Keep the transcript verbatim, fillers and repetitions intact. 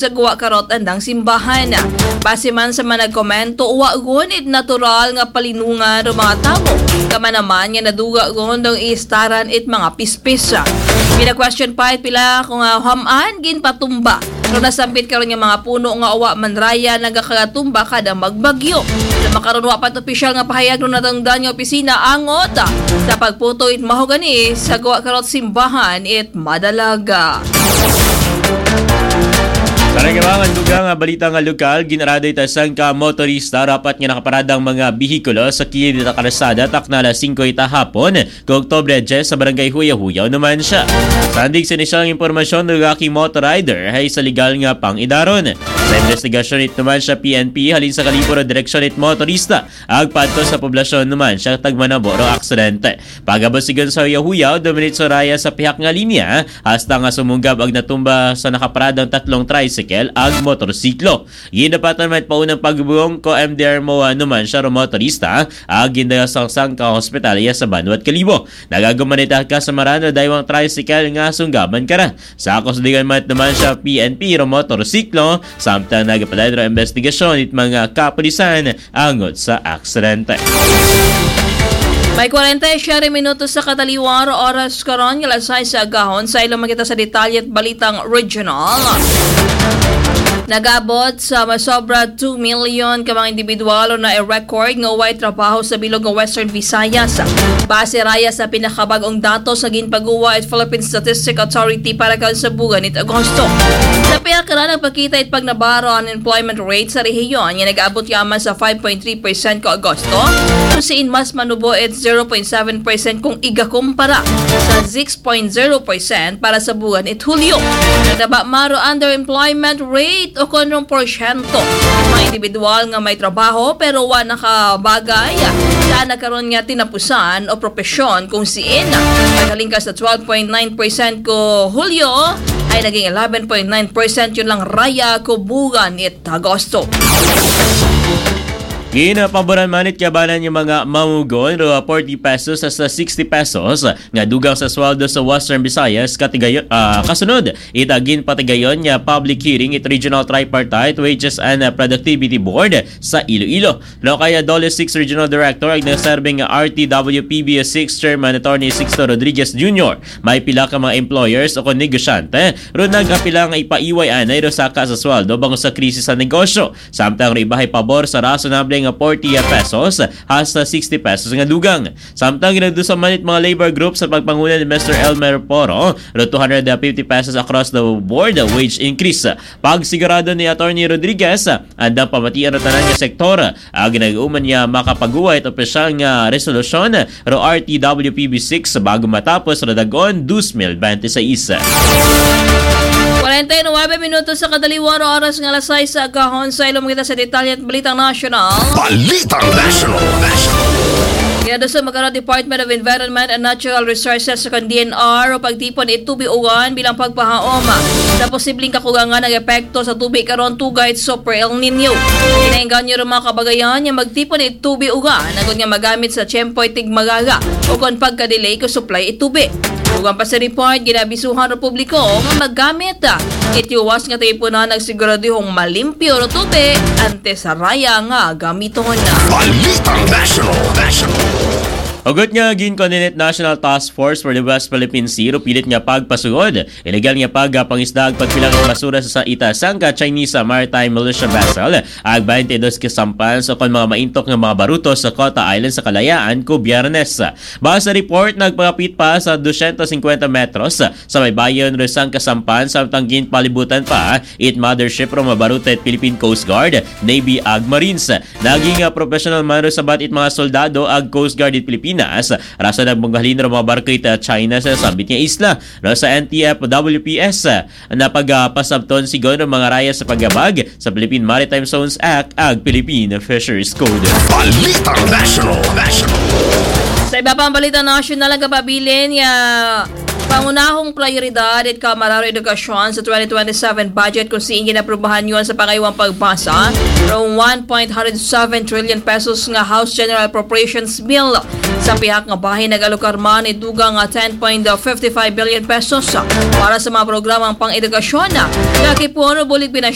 sa guwa karot andang simbahan. Base man sa mga nagkomento, wa gun it natural nga palinungan ro mga tawo. Kamanaman nga naduga gun dong istaran it mga pispis. Gina-question pa it pila kung, ah, ham-an ginpatumba. Pero nasambit karon nga mga puno nga wa man raya nagakatumba kada magbagyo. Sa makaron wa pa opisyal nga pahayag ro natungdan nga opisina angot sa pagputo it mahogani sa guwa karot simbahan it madalaga. Para nga mga dugang nga balita nga lokal, ginarado ita sangka motorista rapat nga nakaparadang mga bihikulo sa kilid ita karsada takna alas singko ita hapon, kung Oktubre diyes sa Barangay Huyahuyaw naman siya. Sandig sa inisyal nga impormasyon, nagaki motor rider hay sa legal nga pangidaron. Sa investigasyon it naman siya P N P, halin sa kalibur o direksyon it motorista, agpadto sa poblasyon naman siya tagmanabo ro aksidente. Pagabot sigun sa Huyahuyaw, dumiritso raya sa pihak nga linya, hasta nga sumunggab ag natumba sa nakaparadang tatlong tricycle ag motorsiklo. Ginapatan man paunang pagbubong ko M D R mo naman siya ro motorista, ag gindala sa sangka hospital iya sa banwat Kalibo. Nagaguman ita kasamaran ro daywang tricycle nga sunggaban kara. Sa kasundigan man naman siya P N P ro motorsiklo, samtang nagapadalin ro investigasyon it mga kapulisan angot sa aksidente. May kwarenta y siyete minutos sa kataliwan ro oras karon nga alas sais sa agahon. Sa ilo makita sa detalye it balitang regional. Nagabot sa masobra two million ka mga individual o na-record nga way trabaho sa bilog nga Western Visayas. Base raya sa pinakabag-ong datos nga ginpaguwa it Philippine Statistic Authority para karon sa buwan it Agosto. Sa pihak ra nagpakita it pagnabaro unemployment rate sa rehiyon nga nag-abot yaman sa five point three percent ko Agosto, kung siin mas manubo it zero point seven percent kung igakumpara sa six point zero percent para sa buwan it Hulyo. Nagtaba man ro underemployment rate o kon rong porsyento mga individual nga may trabaho pero wa nakabagay sa nagkaron nga tinapusan o propesyon kung siin naghalin ka sa twelve point nine percent ko Hulyo ay naging eleven point nine percent yun lang raya ko buwan it Agosto. Ginapaboran man it kabanan nga mga mamugon ro forty pesos hasta sixty pesos nga dugang sa sweldo sa Western Visayas katigayon, ah, kasunod it ginpatigayon nga public hearing it Regional Tripartite Wages and, ah, Productivity Board sa Iloilo. Lokal nga DOLE six Regional Director ag nagserbing R T W P B six Chairman Attorney Sixto Rodriguez Junior, may pila ka mga employers o kon negosyante ro nagapila nga ipaiway anay ro saka sa sweldo bangod sa krisis sa negosyo. Samtang ro iba hay pabor sa rasonable nga forty pesos hasta sixty pesos nga dugang. Samtang ginadusa man it mga labor group sa pagpanguna ni Mister Elmer Poro, ro two hundred fifty pesos across the board wage increase. Pagsigurado ni Attorney Rodriguez, andang pamatian ro tanan nga sektor, ag nag-uman niya makapaguwa it opisyal nga resolusyon ro R T W P B six bago matapos ro dagon dos mil bente seis. Kwarenta y nuebe minutos sa kataliwan ro oras nga alas sais sa agahon. Sa ilo makita sa detalye it balitang nasyonal. Balitang national. National. Ginaduso makaron Department of Environment and Natural Resources o kon D N R o pagtipon it tubi uwan bilang pagpahaom sa posibleng kakugangan nga epekto sa tubi karon tugay it Super El Nino. Ginaengganyo ro mga kabagayan nga magtipon it tubi uwan agud nga magamit sa tiyempo it tigmagaga o kon pagka-delay ko supply it tubi. Ugan pa sa report, ginabisuhan ro publiko nga maggamit it tiwas nga tipunan ag siguraduhong malimpyo ro tubi antes sa raya nga gamiton. Balitang National. National. Hugot nga ginkoninen it National Task Force for the West Philippine Sea ro pilit nga pagpasugod iligal nga pagpangisda ag pagpilang it basura sa ita sangka Chinese maritime militia vessel ag baynte dos ka sampan sa kon mga maintok nga mga baruto sa Cota Island sa Kalayaan ko Biyernes. Base sa report, nagpangapit pa sa dosyentos singkwenta metros sa baybayon ro sangka sampan samtang ginpalibutan pa it mothership ro mabaruto it Philippine Coast Guard, Navy ag Marines. Naging, ah, professional man ro sabat it mga soldado ag Coast Guard it Pilipinas, rason nagmunghalin ro mga barko it, ah, China sa sambit nga isla. Ro sa N T F W P S, ah, napagpasabton sigun ro mga raya sa pagyabag sa Philippine Maritime Zones Act ag Philippine Fisheries Code. Balitang National. National. Sa iba pang balita nasyonal, ang kapabilin nga pangunahong prioridad it Kamara ro Edukasyon sa twenty twenty-seven budget kung siin ginaprubahan yon sa pangaywang pagbasa rong one point hundred seven trillion pesos nga House General Appropriations Bill. Sa pihak nga bahin, nag-alokar man it dugang nga ten point fifty-five billion pesos para sa mga programang pang-edukasyon nga kipon ro bulig